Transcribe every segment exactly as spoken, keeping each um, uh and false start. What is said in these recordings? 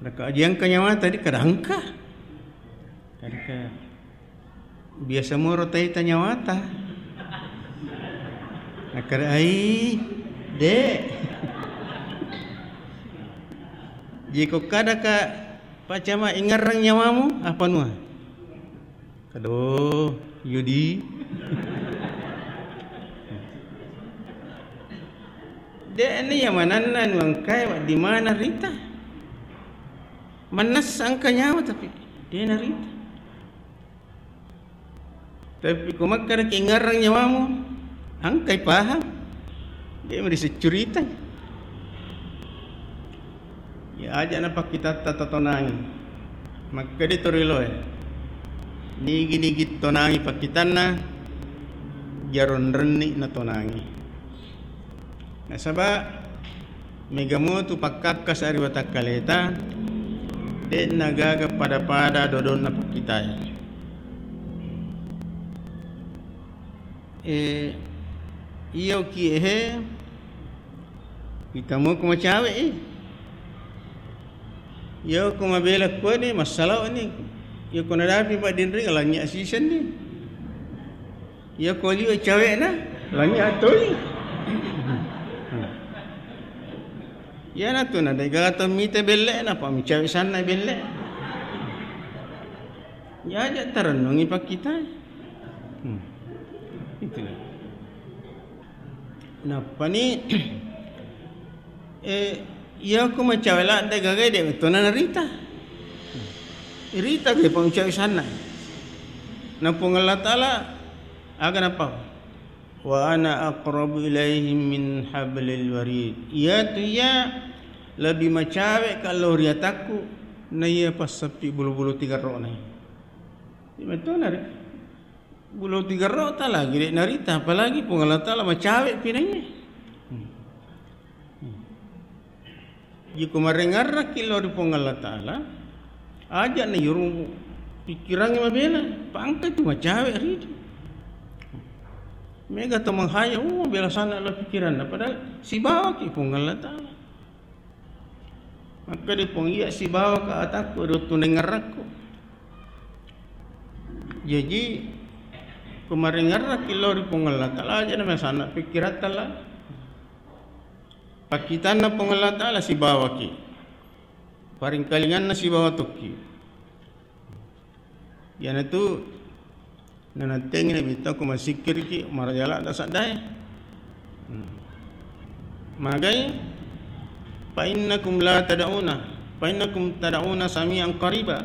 Ka aji engka nyawata, di kada engka. Engka. Biasa moro taita nyawata. Nakkeda, "Ai, Dek." Jiko kada ka Pak Camat, ingarrang nyawamu, apa nua? Kado, Yudi. Dek ni ya mananna nuangkai wa di mana rita. Mannessa engka nyawa tapi de narita. Tapi ko makkedaki ngarrang nyawamu, engkai pahang, de meri seccurita. Ya aja napakkitatta tatonangi. Makkeda to riloe, nigi-nigi tonangi pakkitanna, jaronrenni natonangi. Nasaba mega motu pakkakkasa ri watakkaleta, de'na gaga pada-pada dodonna pakkitae. Eh, iya ukie he, kita mau ku macawe i. Iya ku mabela kuani, masalah ni. Iya ku nadapi Pak Dinri, lanyi asisen ni. Iya ko liwe cawekna, lanyi atoi. Iyanatu na degaga to mite belle, napa micawe sanna belle. Ya aja tarennungi pakkita. Hmm. Itu. Nappani, eh, iya ko macawe ladde gaga de tona narita. Rita ge pamcawe sanna. Na Puang Allah Taala aga napa? "Wa ana aqrabu ilaihim min hablil warid." Iyatu iya lebbi macawe ka lao ri atakku, na iya passeppi bulu-bulu tigerrona. Iya metona ri. Bulu tigerrota lagi de narita, apalagi Puang Allah Taala macawe pinaiye. Hmm. Hmm. Jiko marengngarraki lao ri Puang Allah Taala, aja na yuru pikirangnge mabela, pangka tu macawe ridi. Mega to menghayal, oh, bela sana lao pikiranna, padahal sibawaki Puang Allah Taala. Makkeda Puang, iya sibawaka atakku ri wettu naingngarrakku. Jaji, ko marengngarraki lao ri Puang Allah Taala, aja na masanna pikkiratta la. Pakkitanna Puang Allah Taala sibawaki. Paringkalinganna sibawa tokki. Iyanatu nanattengi Nabitta ko masikkiriki maraja ladda saddae. Hmm. Magai, "Fa innakum la tad'una, fa innakum tad'una sami'an qariba."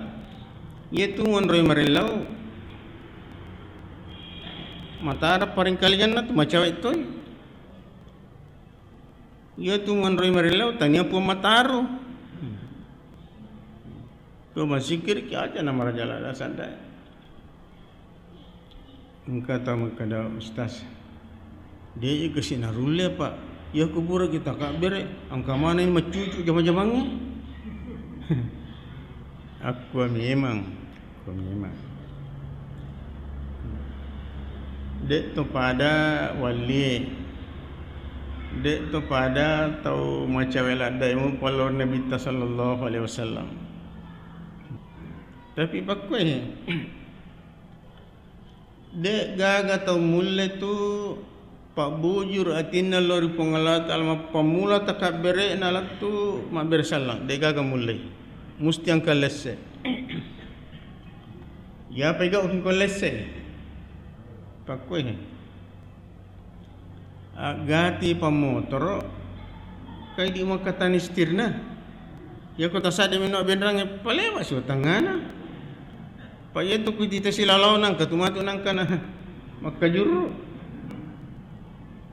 Iyatu monroi marellau matara paringkalinganna tu macawe toi. Iyatu monroi marellau tania Puang Mataru. Ko masikkiriki aja na maraja ladda saddae. Engka tau makkeda, "Ustaz, de' kasi narulle apa? Iya kuburaki takabbere, engka maneng maccucu jama-jamangnge." Akkua memang, akkua memang. De' to pada wallie, de' to pada tau macawe laddae mu pallor Nabitta sallallahu alaihi wasallam. Tapi pakkue, de' gaga tau mulle tu pabbujur atinna lao ri Puang Allah Taala, mappammula takabbere'na lettu mabbere sallang, de' gaga mulle. Musti engka lesse. Iya pegauki ko lesse. Pakkue. Aggati pammotoro, kai di makkatani setirna. Iya ko tasadde mino benrangnge, palewa siwa tangngana. Pa iya tu ku tita silalau nangka tu matu nangka na makkajuru.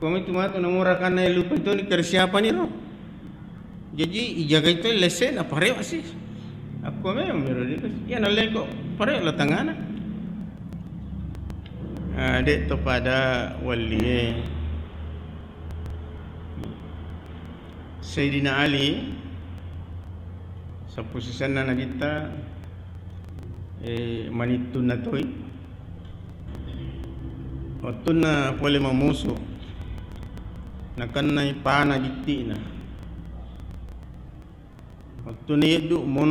Komi tu matu na murakanna lupa itu ni kere siapa ni ro. Jaji ijagai to lesse na parewa si. Akko memang mero di iya nalleko parewa la tangana. Ah, de' to pada wallie. Sayyidina Ali, sappo sisenna Nabitta, eh, manittunna toi. Wettunna pole mamusu, nakennai pana bitti'na. Wettunna yeddu, mon